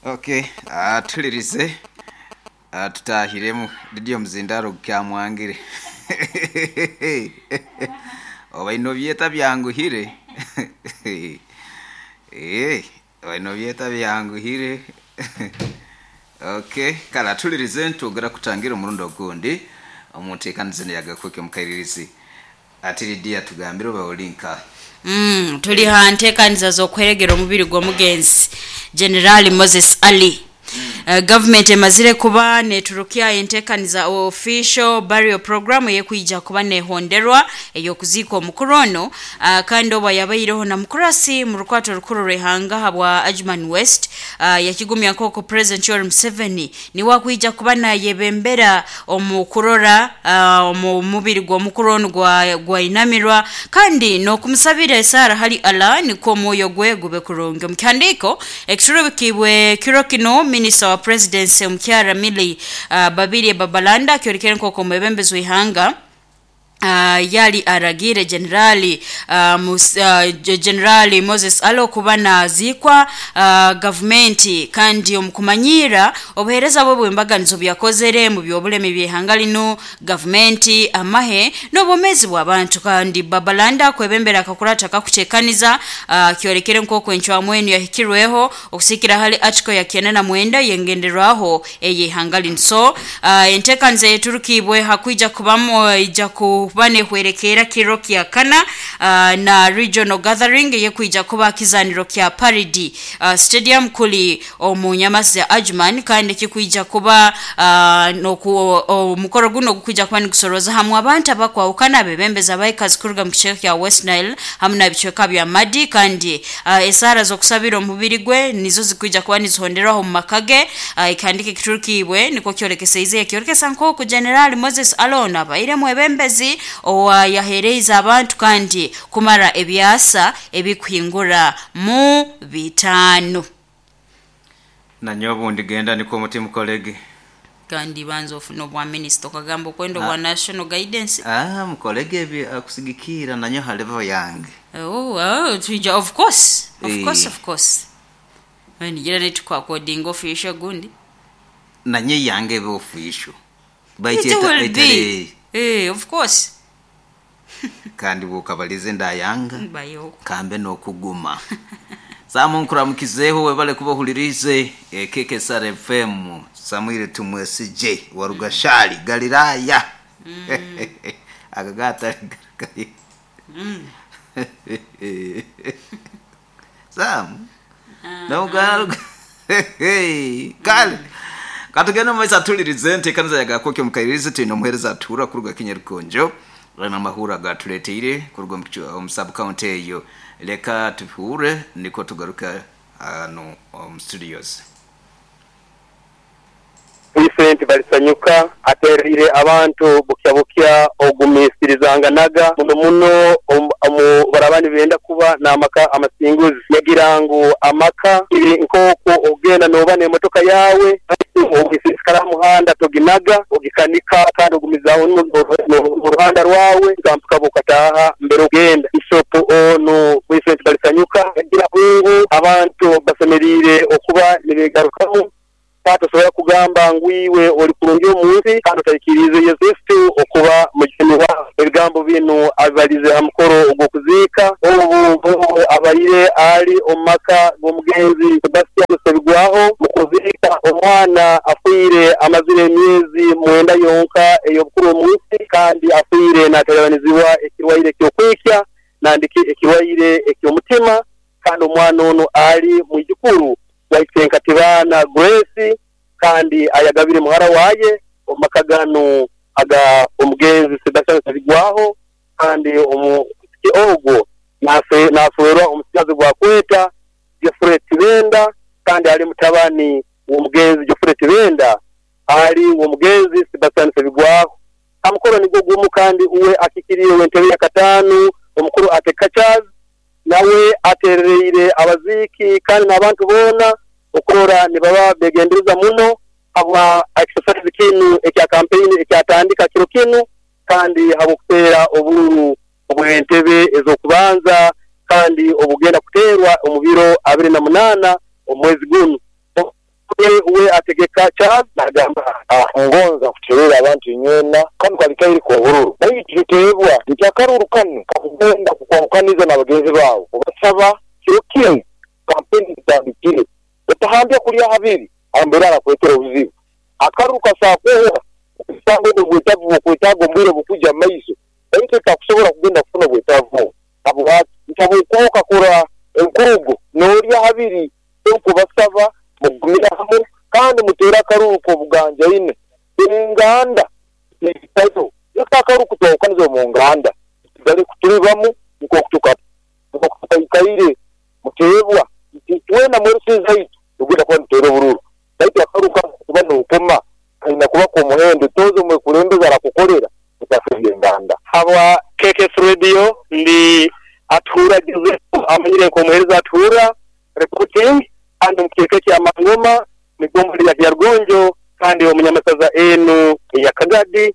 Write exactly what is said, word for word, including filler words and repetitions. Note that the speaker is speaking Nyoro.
Okay, atulirize tutahiremu Lidiyo muzindaro gukyamwangire oba ino byeta byanguhire eh oba ino byeta byanguhire. Okay, kale atulirize ntugera kutangira omurundi ogundi omunteekaniza neyagakweke mukairirizi ati Lidiya tugambire oba olinka. Mm, tuli ha nteekaniza z'okweregera omubiri gw'omugenzi General Moses Ali. Uh, government emazire kuba neturukya enteekaniza official burial program eyekwija kuba nehonderwa ey'okuziika omukuru ono, uh, kandi oba yabaireho na mukurasi mu rukwato rukuru rw'ihanga habwa Ajman West, uh, yakigumya nk'oku President Yoweri Museveni niwe akwija kuba nayebembera omu kurora uh, omu mubiri gw'omukuru ono gwa gwainamirwa kandi n'okumusabira esaara hali Allah nikwo omwoyo gwe gube kurungi. Omu kihandiiko ekiturubikibwe kiro kino, Minister wa Presidency omukyara Milly uh, Babirye Babalanda akyorekere nk'oku omwebembezi w'ihanga Uh, yali aragire Generali uh, mus, uh, Generali Moses Alo kuba naziikwa uh, gavumenti kandi omukumanyira obuheereza bwe bw'embaganizo byakozere mu by'obulemi by'ihanga lino, gavumenti, amahe n'obwomeezi bw'abantu. Kandi Babalanda kwebembera akakurata kakutekaniza uh, kyorekere nk'oku encwamu enu yahikirweho okusikira hali article ya kenda na mwenda yengenderwaho ey'ihanga lino. So uh, enteekaniza yeturukibwe hakwija kubamu ija ku kuba nehwerekera kiro kya kana uh, na regional gathering yekwija kuba kizaniro kya Paridi uh, stadium kuli omu nyamasi ya Ajman, kandi kikwija kuba uh, noku omukoro guno gukwija kuba nikusoroza hamwe abantu abakwawukana abebembezi abaikazi kuruga mu kicweka kya West Nile hamwe na bicweka bya Madi, kandi uh, esara z'okusabira omubiri gwe nizo zikwija kuba nizihonderwaho mu makage. uh, ikihandika ekiturukibwe niko kyorekeseize ekyorekesa nk'oku General Moses Alon abaire mwebembezi owa yahereiza abantu kandi kumara ebyasa ebikuhingura mu bitaano. Nanyo obundi genda niko omutima mukolege kandi banza ofuna obwa minisita okagamba okwenda obwa national guidance. Ah, mukolege ebi akusigikira nanyo ha level yange. Oh, oh, tuija of course, of Eh. course, of course. Nigira netukwakodinga official gundi nanyo yange ebe official It will be. Eh, of course. Kandi bukabalize ndayanga Bayo. kambe nokuguma samu nkuramukizeho webale kubahulirize K K S R F M Samuel Tumwesije wa Rugashali Galilaya aka gatari Mm. Samu no kale katugenda mumaiso atulirize nteekaniza yagakoke mukairirize twine omuheereza atuura kuruga Kinyarukonjo na amahura gatuleteire kuruga omu sub county eyo. Leka tuhure niko tugaruka hano omu studios. Vincent Balisanyuka aterire abantu bukya bukya ogumisirizanganaga muno muno omu barabani benda kuba n'amaka amasinguzi yagira ngu amaka iri nk'oku ogenda noba n'emotoka yawe ogisisikara muhanda toginaga ogikanika kandi ogumizaho mu ruhanda rwawe gampuka bukataha mbere ogenda. Bishop ono Vincent Balisanyuka yagira ngu abantu basemerire okuba nibegarukamu katosobola kugamba ngu iwe oli kurungi omunsi kandi otaikirize Yesu Kristo okuba mujuni wawe. Ebigambo bino abibalize ha mukoro ogw'okuziika obu abaire ali omu maka g'omugenzi Sebastian Sebigwaho mu kuziika omwana afiire amazire emyezi mwenda yonka ey'obukuru omunsi kandi afiire naterebanizibwa ekirwaire ky'okwikya nandiki ekirwaire eky'omutima kandi omwana ono ali mwijukuru waisenkatibana Grace kandi ayagabire muhara waye omakagano aga omugenzi Sebastian Sebigwaho kandi omu ogwo nafe nafuerwa omusigazi gwa kweta Geoffrey Tibenda kandi ali mutabani w'omugenzi Geoffrey Tibenda ali w'omugenzi Sebastian Sebigwaho. Amukoro nigwo gumu kandi uwe akikiriye w'entebe ya katano omukuru Atekachaz nawe aterereire abaziki kandi n'abantu boona okurora nibaba begendereza muno habwa exercise kinu ekya campaign ekyatandika kiro kinu kandi habwokuteera obululu obw'entebe ez'okubanza kandi obugenda kuteerwa omu biro abiri na munaana omwezi guno. We ategeka Charles nagamba ngonza kuterera abantu inywena kanu kali kairi k'obururu, baitu tuteebwa nti akaruru kanu kakugenda kukwahukaniza n'abagenzi baawe. Obasaba kiro kinu kampeni zitandikire, otahambya kulya habiri ambere arakwetera obuzibu. Akaruru kasakuhwa okusanga obwo obwetaavu bwokwetaaga omu bwire bukujja mu maiso, baitu takusobola kugenda kufuna obwetaavu obwo habwaki nti habwokuba okakora enkurugo n'olya habiri. Nkubasaba mugumire hamu kandi muteere akaruru k'obuganjaine enganda etayo leka akaruru kutwahukaniza omu nganda tusigale kutulibamu nk'oku tukaikaire. Muteebwa nti twena mwerusi zaitu tugenda kuba nituteera obururu, baitu akaruru kanu kuba nookoma kaina kuba k'omuhendo tooza omwekulembeze arakukolera mutafeebya enganda. Habwa K K S Radio, ndi Atuhura Joseph, amanyire nk'omuheereza Atuhura reporting, kandi omu kicweka kya Mangoma, migombo ya Kyarugonjo, kandi omunyamasaza enu eya Kagadi.